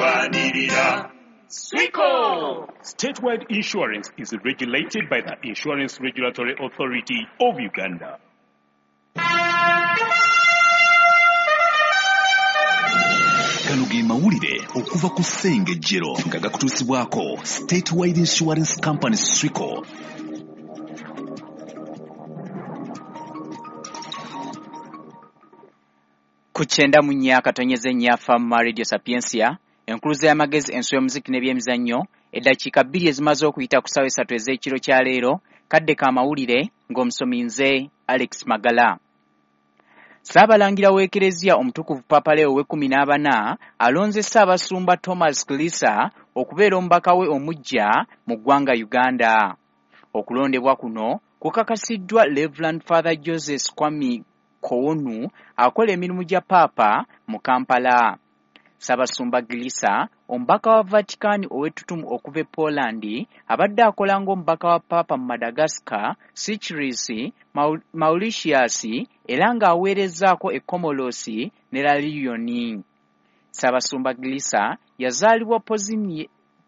Tulwanirira Swico. Statewide Insurance is regulated by the Insurance Regulatory Authority of Uganda. Gano ge mawulire okuva ku Ssengejjero nga gakutuusibwako Statewide Insurance Company Swico. Ku 94.4 Fama Radio Sapientia, enkuluza y'amagezi, enso y'omuziki n'ebyemizannyo, eddakiika 2 ezimaze okuyita ku ssaawa 3 ez'ekiro kya leero, kadde ka mawulire ng'omusomi nze Alex Magala. Ssaabalangira w'Ekereziya Omutukuvu Papa Leo ow'e14 alonze Ssaabasumba Thomas Klisa okubeera omubaka we omuggya mu ggwanga Uganda. Okulondebwa kuno kukakasiddwa Reverend Father Joseph Kwame Kowonu akola emirimu gya Paapa mu Kampala. Ssaabasumba Glisa, omubaka wa Vatican ow'ettutumu okuva e Poland, abadde akola ng'omubaka wa Paapa mu Madagascar, Seychelles, Mauritius era ng'aweerezzaako e Comoros ne La Réunion. Ssaabasumba Glisa yazaalibwa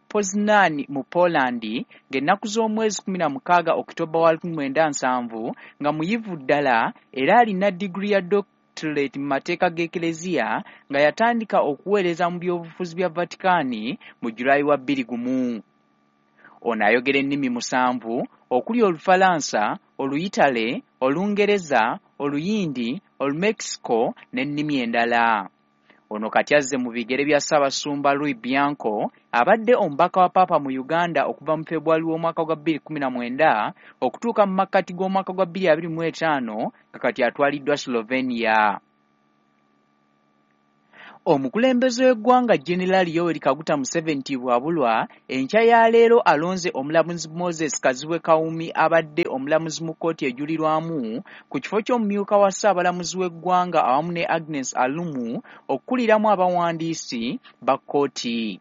Poznan mu Poland ng'ennaku z'omwezi 16 Okitoba wa 1970 nga muyivu ddala era alina diguli ya doctorate mu mateeka g'Ekereziya nga yatandika okuweereza mu byobufuzi bya Vatican mu Julayi wa 2001. Ono ayogera ennimi 7 okuli Olufalansa, Oluyitale, Olungereza, Oluyindi, Olumexico n'ennimi endala. Ono kati azze mu bigere bya Ssaabasumba Louis Bianco abadde omubaka wa Paapa mu Uganda okuva mu February w'omwaka gwa 2019 okutuuka mu makkati g'omwaka gwa 2025 nga kati atwaliddwa Slovenia. Omukulembeze w'eggwanga General Yoweri Kaguta Museveni Tibwabulwa enkya ya leero alonze omulamuzi Moses Kazibwe Kawumi abadde omulamuzi mu kkooti ejulirwamu ku kifo ky'omumyuka wa Ssaabalamuzi w'eggwanga awamu ne Agnes Alumu okukuliramu abawandiisi ba kkooti.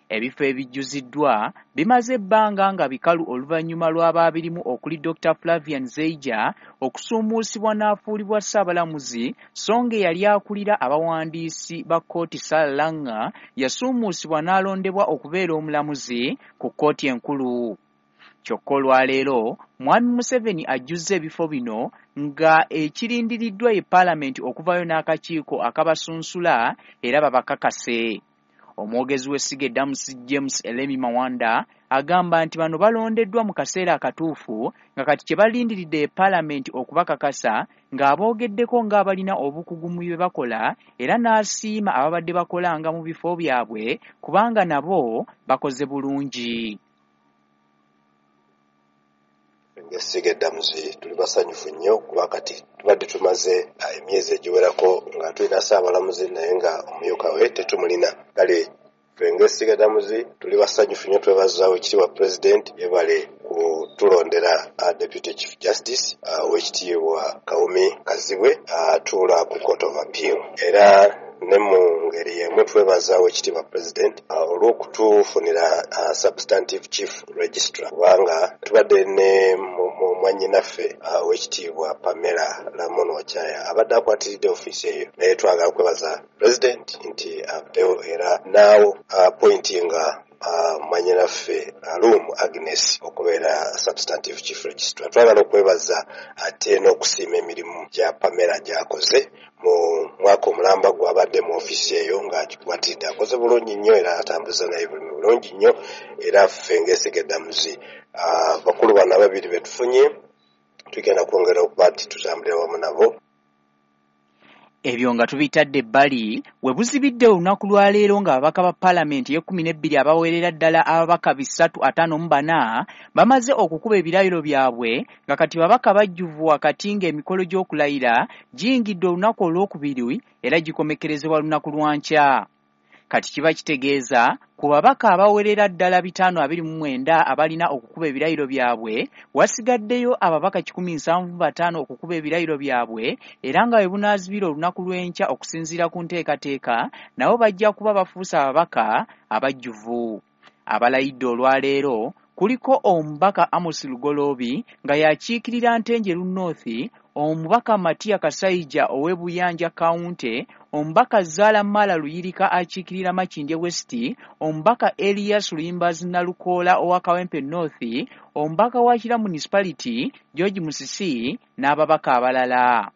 Ebifo ebijjuziddwa bimaze ebbanga nga bikalu oluvannyuma lw'abaabirimu okuli Dr. Flavian Zeija okusuumuusibwa n'afuulibwa Ssaabalamuzi, so ng'eyali akulira abawandiisi ba kkooti Sarah Langa yasuumuusibwa n'alondebwa okubeera omulamuzi ku kkooti enkulu. Kyokka olwaleero Mwami Museveni ajjuzza ebifo bino nga ekirindiriddwa ye Paalamenti okuvaayo n'akakiiko akabasunsula era babakakase. Omwogezi w'essiga eddamuzi James Elemi Mawanda agamba nti bano balondeddwa mu kaseera akatuufu nga kati kye balindiridde Paalamenti okubakakasa ng'aboogeddeko ng'abalina obukugu mu bye bakola era n'asiima ababadde bakolanga mu bifo byabwe kubanga nabo bakoze bulungi. Ng'essiga eddamuzi tuli basanyufu nnyo kuba kati tubadde tumaze emyezi egiwerako nga tulina Ssaabalamuzi naye nga omumyuka we tetumulina. Kale ffe ng'essiga eddamuzi tuli basanyufu nnyo, twebaza Oweekitiibwa Pulezidenti yebale kutulondera Deputy Chief Justice Oweekitiibwa Kawumi Kazibwe atuula ku Court of Appeal. Era ne mu ngeri y'emu twebaza Oweekitiibwa Pulezidenti olw'okutufunira Substantive Chief Registrar kubanga tubadde ne mwannyinaffe Oweekitiibwa Pamela Lamon Wachaya abadde akwatiridde ofiisi eyo, naye twagala kwebaza Pulezidenti nti avuddeyo era naawo appointinga mwannyinaffe Alum Agnes okubeera Substantive Chief Registrar. Twagala okwebaza ate n'okusiima emirimu gya Pamela gy'akoze mu mwaka omulamba gw'abadde mu ofiisi eyo ng'agikwatiridde, akoze bulungi nnyo era atambuza naye bulungi nnyo. Era ffe ng'essiga eddamuzi bakulu bano ababiri be tufunye tugenda kwongera okuba nti tutambulira wamu nabo. Ebyo nga tubitadde ebbali, we buzibidde olunaku lwa leero ng'ababaka ba Paalamenti ey'e12 abawerera ddala ababaka 354 bamaze okukuba ebirayiro byabwe nga kati babaka bajjuvu wakati ng'emikolo gy'okulayira giyingidde olunaku olwokubiri era gikomekerezebwa lunaku lwa nkya. Kati kiba kitegeeza ku babaka abawerera ddala 529 abalina okukuba ebirayiro byabwe, wasigaddeyo ababaka 175 okukuba ebirayiro byabwe era nga bwe bunaazibira olunaku lw'enkya okusinziira ku nteekateeka, nabo bajja kuba bafuuse ababaka abajjuvu. Abalayidde olwaleero kuliko omubaka Amos Lugoloobi nga yakiikirira Ntenjeru North, Omubaka Matia Kasaija ow'e Buyanja County, Omubaka Zaala Mala Luyirika akiikirira Makindye West, Omubaka Elias Luyimbazi Nalukoola owa Kawempe North, Omubaka wa Kira Municipality George Musisi n'ababaka abalala.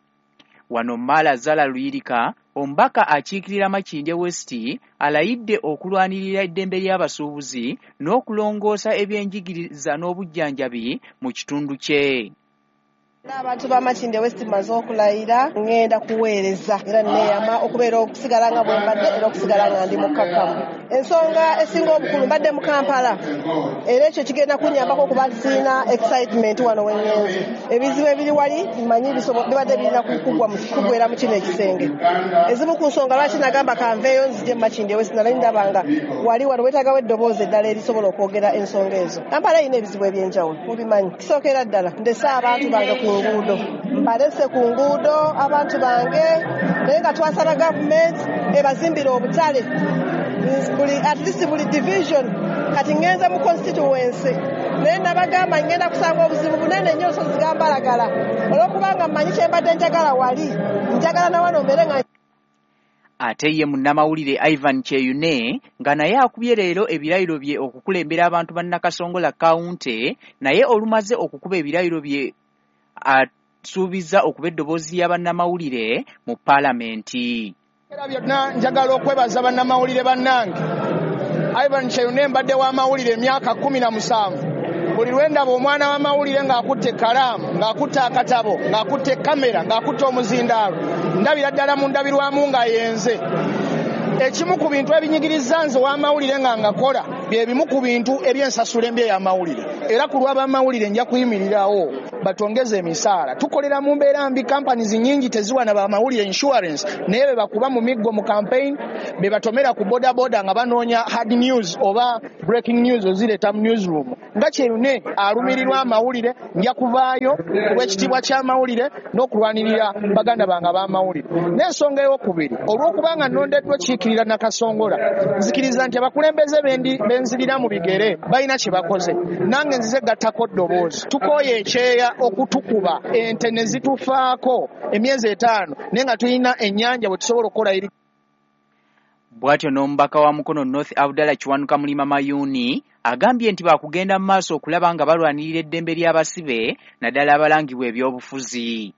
Wano Mala Zaala Luyirika, omubaka akiikirira Makindye West, alayidde okulwanirira eddembe ly'abasuubuzi n'okulongoosa ebyenjigiriza n'obujjanjabi mu kitundu kye. Abantu ba Makindye West mmaze okulayira, ŋŋenda kuweereza era neeyama okubeera okusigala nga bwe mbadde era okusigala nga ndi mukkakkamu. Ensonga esinga obukulu, mbadde mu Kampala era ekyo kigenda kunnyambako okuba nti sirina excitement wano we ŋŋenze. Ebizibu ebiri wali mmanyi bibadde birina kuggwera mu kino ekisenge. Ezimu ku nsonga lwaki nagamba kanveeyo nzije mu Makindye West, nali ndaba nga wali wano weetaagawo eddoboozi eddala erisobola okwogera ensonga ezo. Kampala erina ebizibu eby'enjawulo, mubimanyi. Kisookera ddala ndese abantu bange ku nguudo, mbalese ku nguudo abantu bange, naye nga twasaba gavumenti ebazimbire obutale buli, at least buli division. Kati ŋŋenze mu constituency, naye nabagamba ŋŋenda kusanga obuzibu bunene nnyo, nsozi gambalagala, olw'okubanga mmanyi kye mbadde njagala wali, njagala na wano mbeere nga. Ate ye munnamawulire Ivan Kyeyune nga naye akubye leero ebirayiro bye okukulembera abantu ba Nakasongola County, naye olumaze okukuba ebirayiro bye asuubizza okuba eddoboozi lya bannamawulire mu paalamenti. Era byonna njagala okwebaza bannamawulire bannange. Ivan Kyeyune, mbadde w'amawulire emyaka 17. Buli lwe ndaba omwana w'amawulire ng'akutte ekkalaamu, ng'akutte akatabo, ng'akutte kamera, ng'akutte omuzindaalo, ndabira ddala mu ndabirwamu nga yenze. Ekimu ku bintu ebinyigiriza nze w'amawulire nga ngakola bye bimu ku bintu eby'ensasula embi ey'amawulire, era ku lw'abamawulire nja kuyimirirawo batongeze emisaala. Tukolera mu mbeera mbi, companies nyingi teziwa na bamawulire insurance, naye be bakuba mu miggo mu campaign, be batomera ku bodaboda nga banoonya hard news oba breaking news ozireeta mu newsroom. Nga Kyeyune alumirirwa amawulire, nja kuvaayo ku lw'ekitiibwa ky'amawulire n'okulwanirira baganda bange ab'amawulire. N'ensonga ey'okubiri, olw'okubanga nnondeddwa okiikirira Nakasongola, nzikiriza nti abakulembeze benzirira mu bigere balina kye bakoze, nange nzize gattako ddoboozi. Tukooye ekyeya okutukuba ente ne zitufaako emyezi 5, naye nga tulina ennyanja bwe tusobola okukola eri. Bw'atyo n'omubaka wa Mukono North Abdallah Kiwanuka Mulima Mayuuni agambye nti baakugenda mu maaso okulaba nga balwanirira eddembe ly'abasibe, naddala abalangibwa ebyobufuzi.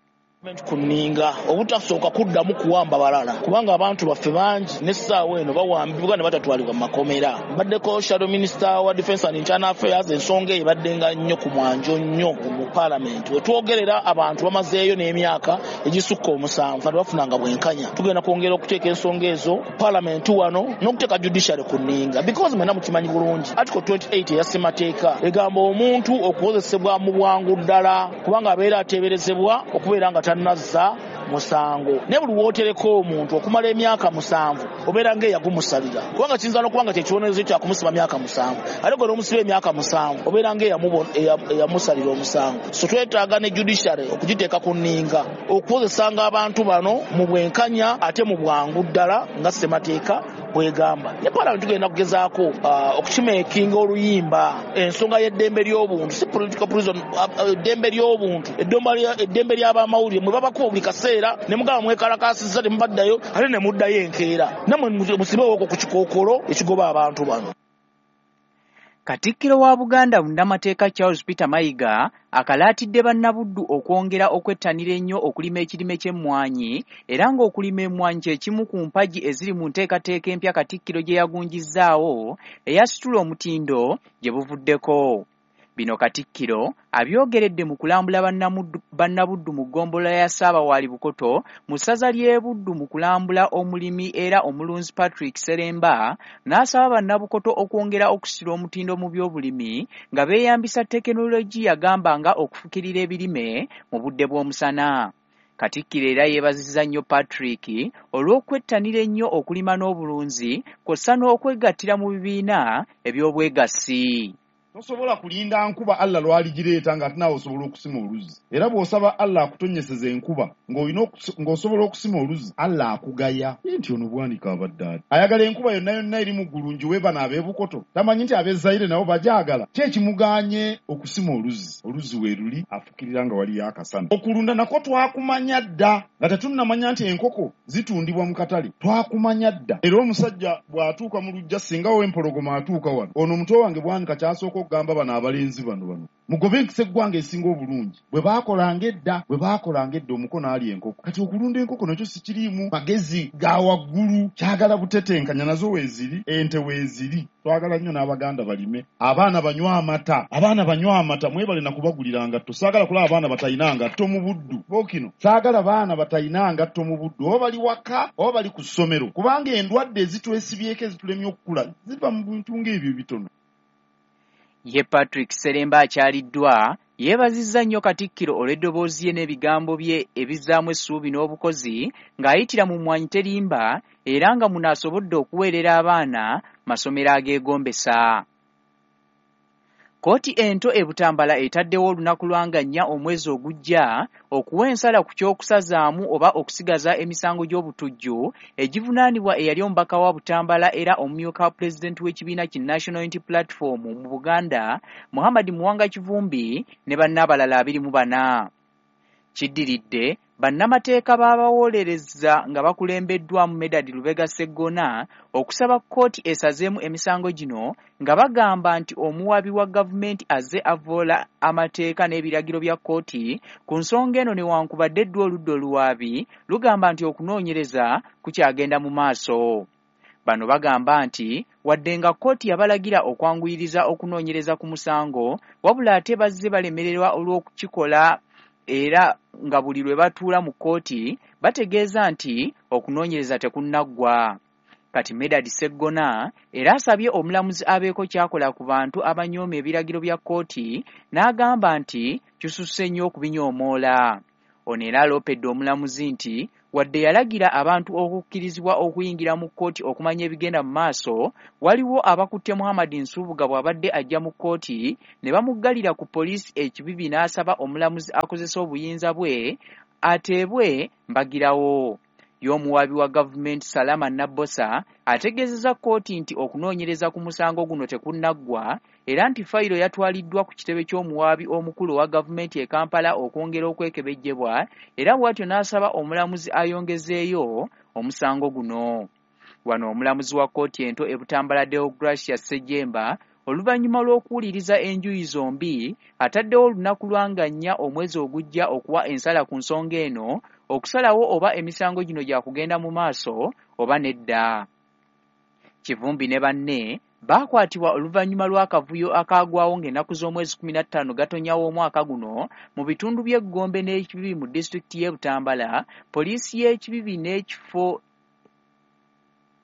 Ku nninga obutasooka kuddamu kuwamba balala, kubanga abantu baffe bangi n'essaawa eno bawambibwa ne batatwalibwa mu makomera. Mbaddeko shadow minister wa defense and internal affairs, ensonga eyo ebaddenga nnyo ku mwanjo nnyo mu paalamenti. Wetwogerera abantu bamazeeyo n'emyaka egisukka 7 nga tebafunanga bwenkanya. Tugenda kwongera okuteeka ensonga ezo ku paalamenti wano n'okuteeka judiciary ku nninga, because mwenna mukimanyi bulungi article 28 eya ssemateeka egamba omuntu okuwozesebwa mu bwangu ddala, kubanga abeera ateeberezebwa okubeera nga tannazza musango. Naye buli wootereka omuntu okumala emyaka 7 obeera ng'eyagumusalira, kubanga kiyinza n'okuba nga kyekibonerezo kyakumusiba myaka 7, ate gwe n'omusiba emyaka 7 obeera ng'eyamusalira omusango. So twetaaga ne judiciary okugiteeka ku nninga okuwozesanga abantu bano mu bwenkanya ate mu bwangu ddala nga ssemateeka bwegamba. Ne paalamenti tugenda kugezaako okukimeekinga oluyimba ensonga y'eddembe ly'obuntu, si political prison, eddembe ly'obuntu, eddembe ly'abamawulire. Mwe babakuba buli kaseera ne mugamba mwekalakaasizza, temubaddayo, ate ne muddayo enkeera. Nammwe musibeewoko ku kikookolo ekigoba abantu bano. Katikkiro wa Buganda munnamateeka Charles Peter Mayiga akalaatidde bannabuddu okwongera okwettanira ennyo okulima ekirime ky'emmwanyi, era ng'okulima emmwanyi kye kimu ku mpagi eziri mu nteekateeka empya Katikkiro gye yagunjizzaawo eyasitula omutindo gye buvuddeko. Bino Katikkiro abyogeredde mu kulambula bannabuddu mu ggombolola ya Ssaabawaali Bukoto mu ssaza ly'e Buddu, mu kulambula omulimi era omulunzi Patrick Seremba, n'asaba bannabukoto okwongera okusitula omutindo mu by'obulimi nga beeyambisa tekinologiya, gamba nga okufukirira ebirime mu budde bw'omusana. Katikkiro era yeebazizza nnyo Patrick olw'okwettanira ennyo okulima n'obulunzi kw'ossa n'okwegattira mu bibiina eby'obwegassi. Tosobola kulinda nkuba Allah lwaligireeta nga ate naawe osobola okusima oluzzi. Era bw'osaba Allah akutonnyeseza enkuba ng'osobola okusima oluzzi, Allah akugaya. Nti ono Bwanika abadde ati ayagala enkuba yonna yonna eri mu ggulu ngiwe bano ab'e Bukoto, tamanyi nti ab'e Zaire nabo bagyagala. Ki ekimugaanye okusima oluzzi? Oluzzi we luli, afukirira nga waliyo akasana. Okulunda nakwo twakumanya dda nga tetunnamanya nti enkoko zitundibwa mu katale, twakumanya dda. Era omusajja bw'atuuka mu luggya, singa ow'empologoma atuuka wano, ono omuto wange Bwanika ky'asooka okugamba bano abalenzi bano mugobe enkisa eggwanga esinga obulungi. Bwe baakolanga edda omukono ali enkoko. Kati okulunda enkoko nakyo sikiriimu magezi ga waggulu, kyagala butetenkanya, nazo weeziri, ente weeziri. Twagala nnyo n'Abaganda balime, abaana banywe amata, abaana banywe amata. Mwebale nakubagulira ngatto, saagala kulaba abaana batalina ngatto mu buddu. Bookino saagala baana batalina ngatto mu buddu, oba bali waka oba bali ku ssomero, kubanga endwadde ezitwesibyeko ezitulemye okukula ziva mu bintu ng'ebyo bitono. Ye Patrick Seremba akyaliddwa yeebazizza nnyo Katikkiro olw'eddoboozi ye n'ebigambo bye ebizzaamu essuubi n'obukozi ng'ayitira mu Mmwanyi Terimba, era nga muno asobodde okuweerera abaana masomero ageegombesa. Kkooti ento e Butambala etaddewo olunaku lwa nga 4 omwezi ogujja okuwa ensala ku ky'okusazaamu oba okusigaza emisango gy'obutujju egivunaanibwa eyali omubaka wa Butambala era omumyuka wa pulezidenti w'ekibiina ki National Unity Platform mu Buganda Muhammad Muwanga Kivumbi ne banne abalala 24. Kiddiridde bannamateeka b'abawolereza nga bakulembeddwamu Medard Lubega Sseggona okusaba kkooti esazeemu emisango gino nga bagamba nti omuwabi wa gavumenti azze avvoola amateeka n'ebiragiro bya kkooti ku nsonga eno, newankubadde ddu oludda oluwaabi lugamba nti okunoonyereza kukyagenda mu maaso. Bano bagamba nti wadde nga kkooti yabalagira okwanguyiriza okunoonyereza ku musango, wabula ate bazze balemererwa olw'okukikola, era nga buli lwe batuula mu kkooti bategeeza nti okunoonyereza tekunnaggwa. Kati Medard Sseggona era asabye omulamuzi abeeko ky'akola ku bantu abanyooma ebiragiro bya kkooti n'agamba nti kisusse nnyo okubinyoomoola. Ono era aloopedde omulamuzi nti wadde yalagira abantu okukkirizibwa okuyingira mu kkooti okumanya ebigenda mu maaso, waliwo abakutte Muhammad Nsubuga bw'abadde ajja mu kkooti ne bamuggalira ku poliisi e Kibibi n'asaba omulamuzi akozese obuyinza bwe ateebwe mbagirawo. Y'omuwaabi wa gavumenti Salama Nabbosa ategeezezza kkooti nti okunoonyereza ku musango guno tekunnaggwa, era nti fayiro yatwaliddwa ku kitebe ky'omuwaabi omukulu owa gavumenti e Kampala okwongera okwekebejjebwa, era bw'atyo n'asaba omulamuzi ayongezeeyo omusango guno. Wano omulamuzi wa kkooti ento e Butambala Deogracia Ssejjemba oluvannyuma lw'okuwuliriza enjuyi zombi ataddewo olunaku lwa nga 4 omwezi ogujja okuwa ensala ku nsonga eno, okusalawo oba emisango gino gyakugenda mu maaso oba nedda. Kivumbi ne banne baakwatibwa oluvannyuma lw'akavuyo akaagwawo ng'ennaku z'omwezi 15 Gatonnya w'omwaka guno mu bitundu by'Eggombe n'Ekibibi mu disitulikiti y'e Butambala. Poliisi y'Ekibibi n'ekifo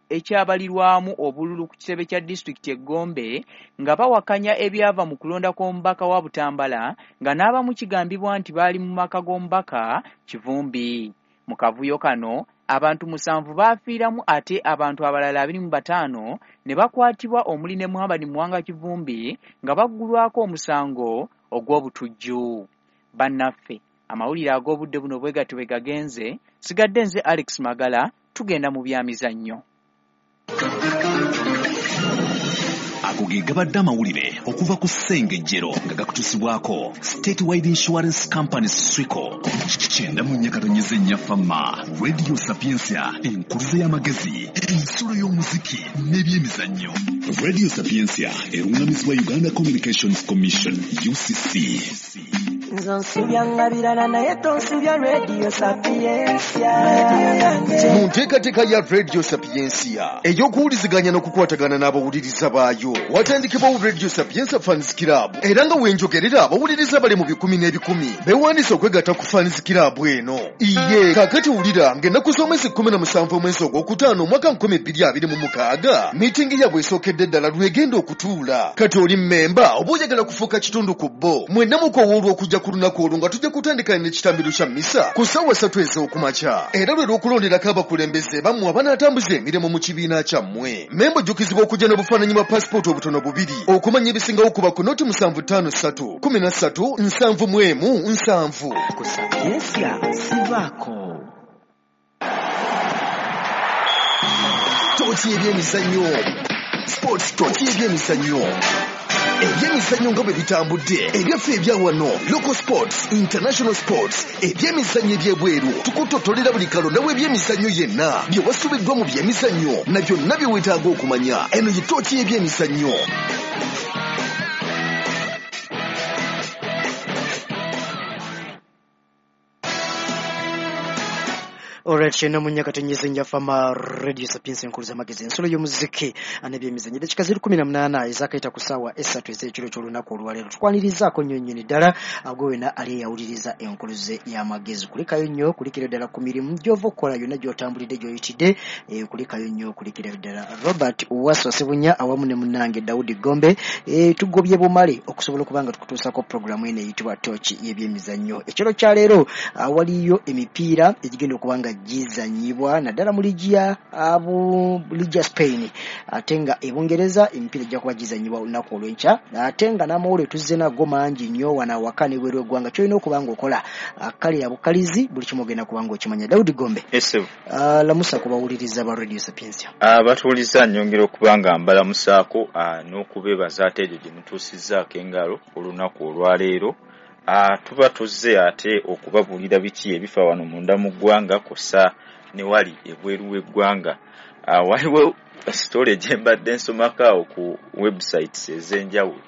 ekyabalirwamu obululu ku kitebe kya disitulikiti e Gombe nga bawakanya ebyava mu kulonda kw'omubaka wa Butambala, nga n'abamu kigambibwa nti baali mu maka g'omubaka Kivumbi. Mu kavuyo kano abantu 7 baafiiramu ate abantu abalala 25 ne bakwatibwa omuli ne Muhammad Muwanga Kivumbi nga baggulwako omusango ogw'obutujju. Bannaffe, amawulire ag'obudde buno bwe gatyo bwe gagenze. Sigadde nze Alex Magala, tugenda mu byamizannyo. Ago ge gabadde amawulire okuva ku Ssengejjero nga gakutuusibwako Statewide Insurance Company Swico. 94.4 Fama Radio Sapientia, enkuluze y'amagezi, ensulo y'omuziki n'ebyemizannyo. Radio Sapientia erungamizibwa Uganda Communications Commission UCC. Nze nsubya birala naye tonsubya Radio Sapientia. Mu nteekateeka ya Radio Sapientia ey'okuwuliziganya n'okukwatagana n'abawuliriza baayo, watandikibwawo Radio Sapientia Fans Club, era nga wenjogerera abawuliriza bali mu bikumi n'ebikumi beewandiisa okwegatta ku Fans Club eno. Iye kaakati wulira ng'ennaku z'omwezi 17 omwezi ogwokutaano omwaka 2026 miitingi yaabwe esookedde ddala lwegenda okutuula. Kati oli mmemba oba oyagala kufuuka kitundu ku bo, mwenna mukowoolwa okujja ku ku lunaku olwo nga tujja kutandika n'ekitambiro kya mmisa ku ssaawa 3 ez'okumakya, era lwe lw'okulonderako abakulembeze bammwe abanaatambuza emirimu mu kibiina kyammwe. Memba ojjukizibwa okujja n'obufaananyi bwa pasipooti obutono bubiri. Okumanya ebisingawo kuba ku noti 753 13 71 7. Ku Sapiensia sivaako. Tooki y'ebyemizannyo. Sports tooki y'ebyemizannyo. Ebyemizannyo nga bwe bitambudde, ebyaffe ebya wano, local sports, international sports, ebyemizannyo ebyebweru, tukutotolera buli kalonda w'ebyemizannyo yenna, bye wasubiddwa mu byemizannyo na byonna bye weetaaga okumanya. Eno ye tooki y'ebyemizannyo. Alright, shena munyaka tenyeze njafama Radio Sapiensia enkuluza magezi ensolo y'omuziki n'ebyemizannyo. Eddakiika ziri 18 ezakayita ku ssaawa 3 ez'ekiro ky'olunaku olwaleero. Tukwanirizaako nnyo nnyini ddala gwe wena ali eyawuliriza enkuluze y'amagezi. Kulikayo nnyo, kulikira ddala ku mirimu gy'ova okukola yonna gy'otambulidde gy'oyitidde, kulikayo nnyo, kulikira ddala. Robert Waswa Ssebunya awamu ne munnange Daudi Gombe, tugobye bumale okusobola okuba nga tukutuusaako pulogulaamu eno eyitibwa Tooki y'ebyemizannyo. Ekiro kya leero waliyo emipiira egigenda okuba nga gizanyibwa naddala mu liigi ya Spain, ate nga e Bungereza emipiira ejja kuba gizanyibwa olunaku olw'enkya, ate nga n'amawulire tuzze nago mangi nnyo wano awaka n'ebweru w'eggwanga. Ky'olina okuba ng'okola kalira bukalizi buli kimu ogenda kuba ng'okimanya. Daudi Gombe, lamusa ku bawuliriza ba Radio Sapiensia. Abatuwuliriza nnyongera okuba nga mbalamusaako n'okubeebaza ate egyo gye mutuusizzaako engalo olunaku olwaleero. Tuba tuzze ate okubabuulira biki ebifa wano munda mu ggwanga kw'ossa ne wali ebweru w'eggwanga. Waliwo sitole gye mbadde nsomako awo ku websites ez'enjawulo.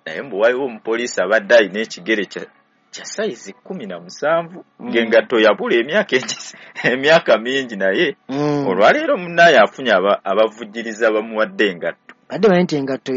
Naye mbu waliwo omupoliisi abadde alina ekigere kya sayizi 17 ng'engatto yabula emyaka mingi, naye olwaleero munnaye afunye abavujjiriza bamuwadde engatto. Badde bamanyi nti engatto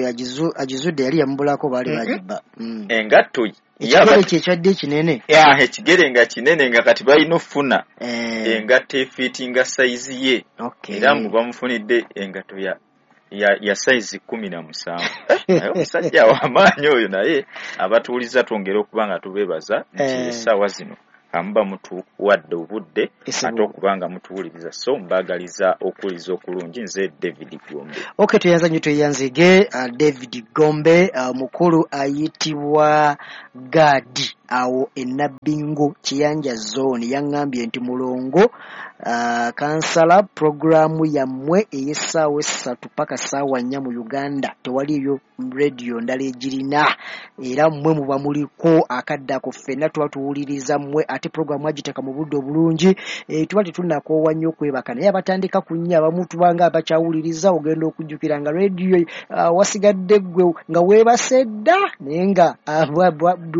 agizudde yali yamubulako, baali bagibba. Engatto ekigere kye kyadde kinene. Ekigere nga kinene nga kati balina okufuna engatto efiitinga sayizi ye. Era mbu bamufunidde engatto ya sayizi 17. Naye omusajja w'amaanyi oyo, naye abatuwuliza twongere okuba nga tubeebaza nti essaawa zino amuba mutuwadde obudde ate okuba nga mutuwuliriza, so mbaagaliza okuwuliriza okulungi. Nze David Gombe. Okay, tweyanza nnyo, tweyanzige David Gombe. Mukulu ayitibwa Gadi awo e Nabbingo Kiyanja zone yaŋŋambye nti mulongo kansala pulogulaamu yammwe ey'essaawa 3 paka ssaawa 4 mu Uganda tewaliyo radio ndala egirina, era mmwe muba muliko akadde ako ffenna tuba tuwuliriza mmwe, ate pulogulaamu agiteeka mu budde obulungi. Tuba tetunnakoowa nnyo okwebaka, naye abatandika ku 4 abamu tubanga abakyawuliriza, ogenda okujjukira nga radio wasigadde ggwe nga weebase dda, naye nga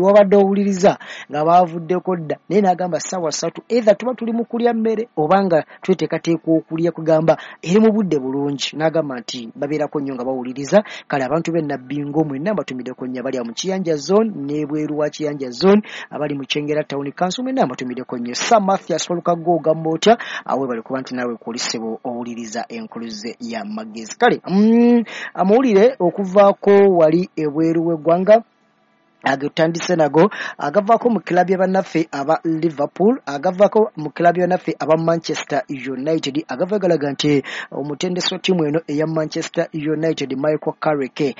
wabadde owuliriza nga baavuddeko dda. Naye n'agamba ssaawa 3 either tuba tuli mu kulya mmere oba nga tweteekateeka okulya, kugamba eri mu budde bulungi. N'agamba nti babeerako nnyo nga bawuliriza. Kale abantu b'e Nabbingo mwenna mbatumiddeko nnyo, abali mu Kiyanja zone n'ebweru wa Kiyanja zone, abali mu Kyengera Town Council mwenna mbatumiddeko nnyo. Sir Mathias Walukago ogamba otya? Weebale kuba nti naawe kw'olisebo owuliriza enkuluze ya magezi. Kale amawulire okuvaako wali ebweru w'eggwanga agatandise nago agavaako mu kilabu y'abannaffe aba Liverpool, agavaako mu kilabu y'abannaffe aba Manchester United, agava galaga nti omutendesi wa ttiimu eno eya Manchester United Michael Carrick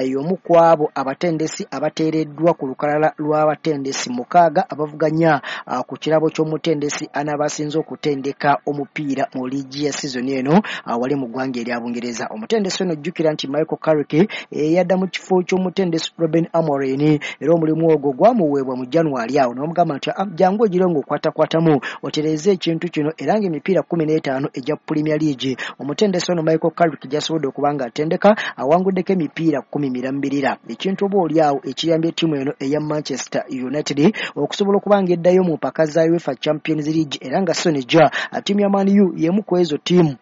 y'omu ku abo abatendesi abateereddwa ku lukalala lw'abatendesi 6 abavuganya ku kirabo ky'omutendesi anaaba asinze okutendeka omupiira mu liigi ya sizoni eno wali mu ggwanga erya Bungereza. Omutendesi ono jjukira nti Michael Carrick yadda mu kifo ky'omutendesi Ruben Amorim, era omulimu ogwo gwamuweebwa mu January awo n'omugamba nti jangu ogire ng'okwatakwatamu otereeze ekintu kino, era ng'emipiira 15 egya Premier League omutendesi ono Michael Carrick gy'asobodde okuba ng'atendeka awanguddeko emipiira 10 mirambirira, ekintu oba oli awo ekiyambye ttiimu eno eya Manchester United okusobola okuba ng'eddayo mu mpaka za UEFA Champions League, era nga Sonija ttiimu ya Man U y'emu ku ezo ttiimu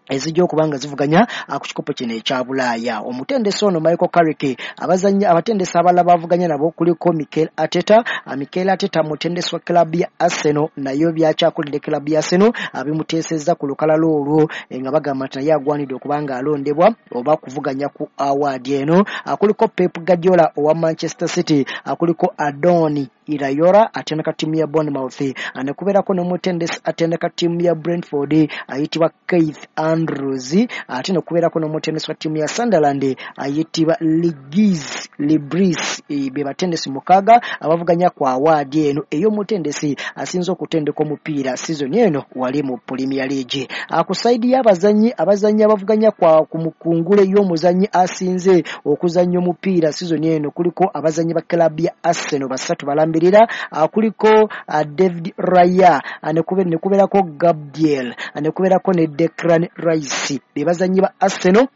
ezijja okuba nga zivuganya ku kikopo kino ekya Bulaaya. Omutendesi ono Michael Carrick abazannyi abatendesi abalala bavuganya nabo kuliko Mikel Arteta. Mikel Arteta mutendesi wa club ya Arsenal, nayo byakyakulidde club ya Arsenal abimuteesezza ku lukalala olwo nga bagamba nti naye agwanidde okuba nga alondebwa oba kuvuganya ku award eno. Kuliko Pep Guardiola owa Manchester City, kuliko Adoni Iraola atendeka ttiimu ya Bournemouth, ne kubeerako n'omutendesi atendeka ttiimu ya Brentford ayitibwa Keith Andrews, ate ne kubeerako n'omutendesi wa ttiimu ya Sunderland ayitibwa Ligis Libris. Be batendesi 6 abavuganya ku award eno ey'omutendesi asinze okutendeka omupiira season eno wali mu Premier League. Ku sayidi y'abazannyi, abazannyi abavuganya ku mukungule y'omuzannyi asinze okuzannya omupiira season eno kuliko abazannyi ba club ya Arsenal 3 balambirira, kuliko David Raya, ne kubeerako Gabriel, ne kubeerako ne Declan Rice. Be bazannyi ba Arsenal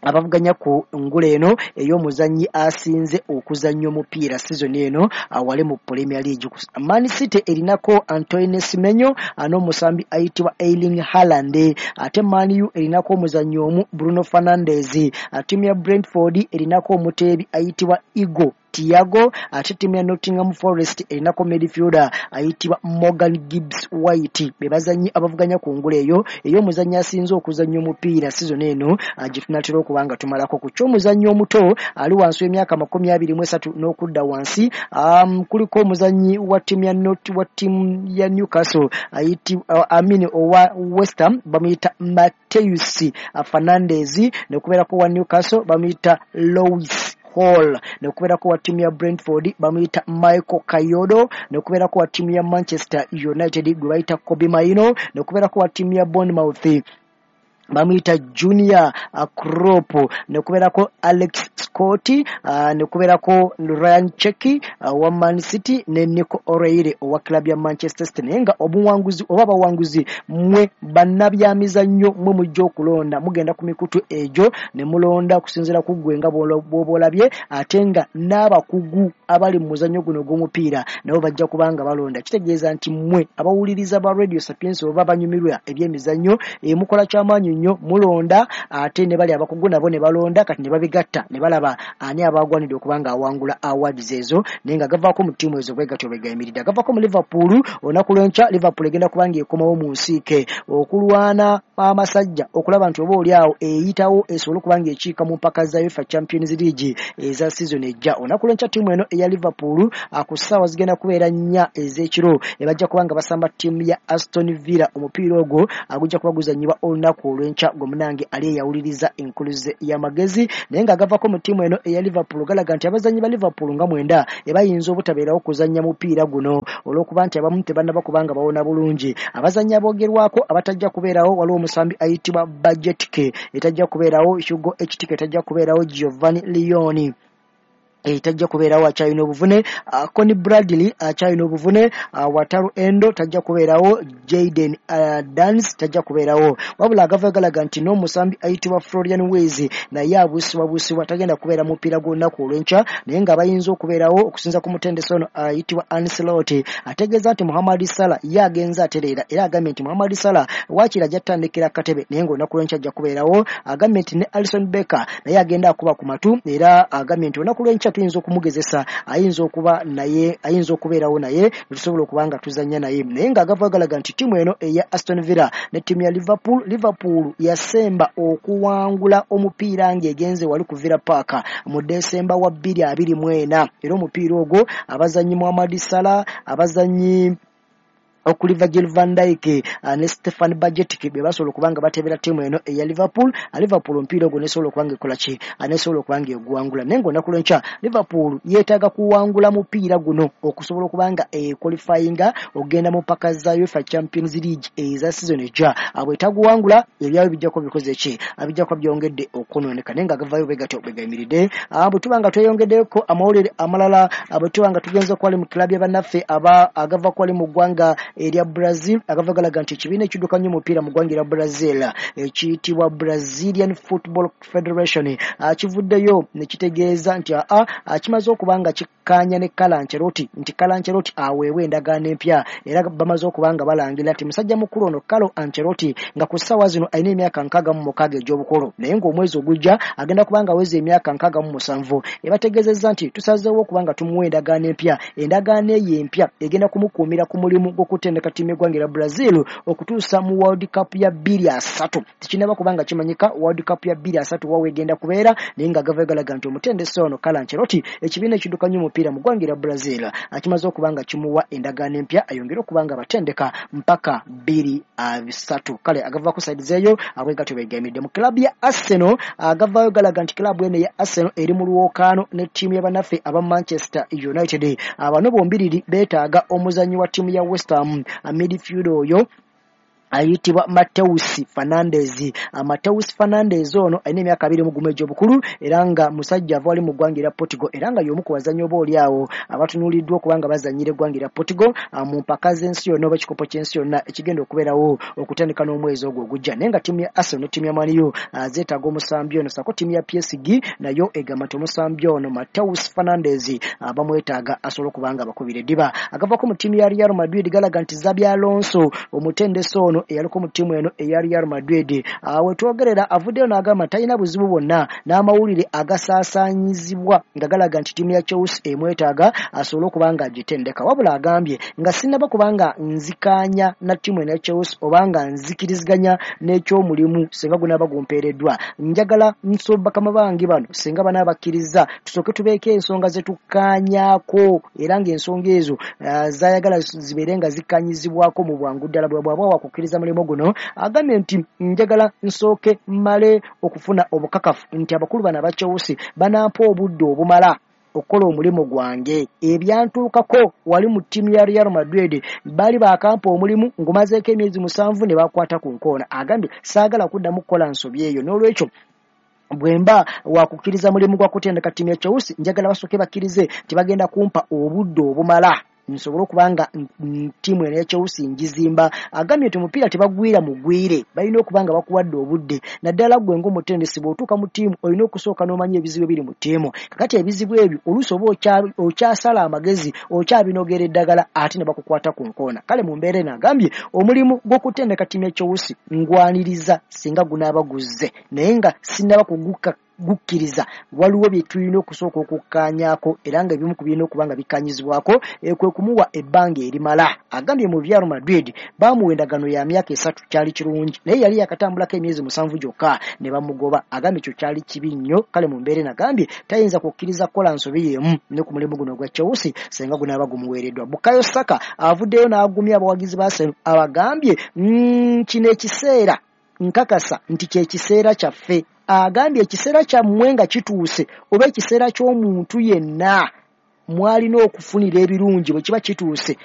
abavuganya ku ngule eno ey'omuzannyi asinze okuzannya omupiira season eno awali mu Premier League. Man City erinako Antoine Semenyo n'omusambi ayitibwa Erling Haaland, ate Man U erinako omuzannyi omu Bruno Fernandes. Ttiimu ya Brentford erinako omuteebi ayitibwa Igor Thiago, ate ttiimu ya Nottingham Forest erinako midfielder ayitibwa Morgan Gibbs White. Be bazannyi abavuganya ku ngule eyo ey'omuzannyi asinze okuzannya omupiira season eno gye tunaatera okuba nga tumalako. Ku ky'omuzannyi omuto ali wansi w'emyaka 23 n'okudda wansi, kuliko omuzannyi wa ttiimu ya ttiimu ya Newcastle owa West Ham bamuyita Mateus Fernandes, ne kubeerako wa Newcastle bamuyita Lewis Hall, ne kubeerako wa ttiimu ya Brentford bamuyita Michael Kayodo, ne kubeerako wa ttiimu ya Manchester United gwe bayita Kobbie Mainoo, ne kubeerako wa ttiimu ya Bournemouth bamuyita Junior Crop, ne kubeerako Alex Scott, ne kubeerako Ryan Cherki wa Man City ne Nico O'Reilly owa club ya Manchester City. Naye nga obuwanguzi oba abawanguzi mmwe bannabyamizannyo mmwe mujja okulonda, mugenda ku mikutu egyo ne mulonda okusinziira ku ggwe nga bw'oba olabye, ate nga n'abakugu abali mu muzannyo guno ogw'omupiira nabo bajja kuba nga balonda. Kitegeeza nti mmwe abawuliriza ba Radio Sapientia oba banyumirwa ebyemizannyo mukola kyamaanyi nnyo, mulonda ate ne bali abakugu nabo ne balonda, kati ne babigatta ne balaba ani abagwanidde okuba nga awangula awards ezo. Naye nga gavaako mu ttiimu ezo bwe gatyo bwe gayimiridde. Agavaako mu Liverpool olunaku lw'enkya, Liverpool egenda kuba ng'ekomawo mu nsiike okulwana amasajja okulaba nti oba oli awo eyitawo esobole okuba ng'ekiika mu mpaka za UEFA Champions League eza season ejja. Olunaku lw'enkya ttiimu eno eya Liverpool ku ssaawa zigenda kubeera 4 ez'ekiro ebajja kuba nga basamba ttiimu ya Aston Villa. Omupiira ogwo gujja kuba guzannyibwa olunaku olw'enkya gwe munange ali eyawuliriza enkuluze y'amagezi. Naye nga agavaako mu ttiimu eno eya Liverpool galaga nti abazannyi ba Liverpool nga 9 ebayinza obutabeerawo kuzannya mupiira guno olw'okuba nti abamu tebannaba kubanga bawona bulungi. Abazannyi aboogerwako abatajja kubeerawo waliwo omusambi ayitibwa Bajetke etajja kubeerawo, Hugo Ekitike etajja kubeerawo, Giovanni Leoni tajja kubeerawo akyalina obuvune, Conor Bradley akyalina obuvune, Wataru Endo tajja kubeerawo, Jayden Danns tajja kubeerawo. Wabula agava galaga nti n'omusambi ayitibwa Florian Wirtz naye abuusibwabuusibwa tagenda kubeera mupiira gw'olunaku olw'enkya, naye nga bayinza okubeerawo okusinza ku mutendesi ono ayitibwa Ancelotti. Ategeeza nti Mohamed Salah ye agenze atereera, era agambye nti Mohamed Salah waakiri ajja kutandikira akatebe naye ng'olunaku lw'enkya ajja kubeerawo. Agambye nti ne Alisson Becker naye agenda akuba ku matu, era agambye nti olunaku lw'enkya tuyinza okumugezesa, ayinza okuba naye, ayinza okubeerawo naye tusobola okuba nga tuzannya naye. Naye ng'agava galaga nti ttiimu eno eya Aston Villa ne ttiimu ya Liverpool, Liverpool yasemba okuwangula omupiira ng'egenze wali ku Villa Park mu Desemba wa 2024, era omupiira ogwo abazannyi Mohamed Salah, abazannyi okuli Virgil van Dijk ne Stefan Bajetic be basobola okuba nga batebera ttiimu eno eya Liverpool. Liverpool omupiira ogwo nesobola okuba nga ekola ki, nesobola okuba nga eguwangula. Naye ng'olunaku lw'enkya Liverpool yeetaaga kuwangula mupiira guno okusobola okuba nga equalifyinga okugenda mu mpaka za UEFA Champions League eza season ejja. Bw'etaguwangula ebyayo bijja kuba bikoze ki, bijja kuba byongedde okwonooneka. Naye nga gavaayo bwe gatyo bwe gayimiridde. Bwe tuba nga tweyongeddeko amawulire amalala, bwe tuba nga tugenze okwali mu club ya bannaffe agava kwali mu ggwanga erya Brazil, agava galaga nti ekibiina ekiddukanya omupiira mu ggwanga erya Brazil ekiyitibwa Brazilian Football Federation kivuddeyo ne kitegeeza nti kimaze okuba nga kikkaanya ne Carlo Ancelotti nti Carlo Ancelotti aweebwa endagaano empya, era bamaze okuba nga balangira nti musajja mukulu ono Carlo Ancelotti nga ku ssaawa zino alina emyaka 66 egy'obukulu, naye ng'omwezi ogujja agenda kuba nga aweza emyaka 67. Ebategeezezza nti tusazeewo okuba nga tumuwa endagaano empya, endagaano eyo empya egenda kumukuumira ku mulimu gw'okutenda kutendeka ttiimu y'eggwanga erya Brazil okutuusa mu World Cup ya 2030. Tekinnaba kubanga kimanyika World Cup ya 2030 wa wegenda kubeera, naye nga gavayo galaga nti omutendesi ono Carlo Ancelotti ekibiina ekiddukanya omupiira mu ggwanga erya Brazil akimaze okuba nga kimuwa endagaano empya ayongere okuba nga batendeka mpaka 2030. Kale agava ku side zeeyo abwe gatyo beegamidde. Mu club ya Arsenal agavaayo galaga nti club eno ya Arsenal eri mu lwokaano ne ttiimu y'abannaffe aba Manchester United. Abano bombiriri beetaaga omuzannyi wa ttiimu ya West Ham, midfield oyo ayitibwa Mateus Fernandes. Mateus Fernandes ono alina emyaka 21 egy'obukulu era nga musajja ava wali mu ggwanga erya Portugal, era nga y'omu ku bazannyi oba oli awo abatunuuliddwa okuba nga bazannyira eggwanga erya Portugal mu mpaka z'ensi yonna oba ekikopo ky'ensi yonna ekigenda okubeerawo okutandika n'omwezi ogwo ogujja. Naye nga ttiimu ya Arsenal ne ttiimu ya Man U zeetaaga omusambi ono, ssaako ttiimu ya PSG nayo egamba nti omusambi ono Mateus Fernandes bamwetaaga asobole okuba nga bakubira eddiba. Agavako mu ttiimu ya Real Madrid galaga nti Xabi Alonso omutendesi ono eyaliko mu ttiimu eno eya Real Madrid wetwogerera avuddeyo n'agamba talina buzibu bwonna n'amawulire agasaasaanyizibwa nga galaga nti ttiimu ya Chelsea emwetaaga asobole okuba nga agitendeka. Wabula agambye nga sinnaba kubanga nzikaanya na ttiimu eno ya Chelsea oba nga nzikiriziganya n'ekyomulimu singa gunaaba gumpeereddwa, njagala bakama bange bano singa banaabakkiriza tusooke tubeeko ensonga ze tukkaanyaako, era ng'ensonga ezo zaayagala zibeere nga zikkaanyizibwako mu bwangu ddala bw'aba wakukkiriza mulimu guno. Agambye nti njagala nsooke mmale okufuna obukakafu nti abakulu bano aba Chelsea banampa obudde obumala okukola omulimu gwange. Ebyantuukako wali mu ttiimu ya Real Madrid baali bakampa omulimu ngumazeeko emyezi 7 ne bakwata ku nkoona. Agambye saagala kuddamu kukola nsobi eyo, n'olwekyo bwemba wakukkiriza mulimu gwa kutendeka ttiimu ya Chelsea njagala basooke bakkirize nti bagenda kumpa obudde obumala nsobole okuba nga ttiimu eno ya Chelsea ngizimba. Agambye nti omupiira tebagwira mugwire, balina okuba nga bakuwadde obudde, naddala ggwe ng'omutendesi bw'otuuka mu ttiimu olina okusooka n'omanya ebizibu ebiri mu ttiimu. Kakati ebizibu ebyo oluusi oba okyasala amagezi okyabinogera eddagala ate ne bakukwata ku nkoona. Kale mu mbeera eno agambye omulimu gw'okutendeka ttiimu ya Chelsea ngwaniriza singa gunaaba guzze, naye nga sinnaba kugukkiriza waliwo bye tulina okusooka okukkaanyaako, era nga ebimu ku birina okuba nga bikkaanyizibwako kwe kumuwa ebbanga erimala. Agambye mu Real Madrid baamuwa endagaano ya myaka 3, kyali kirungi, naye yali yakatambulako emyezi 7 gyokka ne bamugoba. Agambye ekyo kyali kibi nnyo. Kale mu mbeera eno agambye tayinza kukkiriza kukola nsobi y'emu ne ku mulimu guno ogwa Chelsea singa gunaaba gumuweereddwa. Bukayo Saka avuddeyo n'agumya abawagizi ba Arsenal, abagambye kino ekiseera nkakasa nti kye kiseera kyaffe. Agambye ekiseera kyammwe nga kituuse oba ekiseera ky'omuntu yenna mwalina okufunira ebirungi bwe kiba kituuse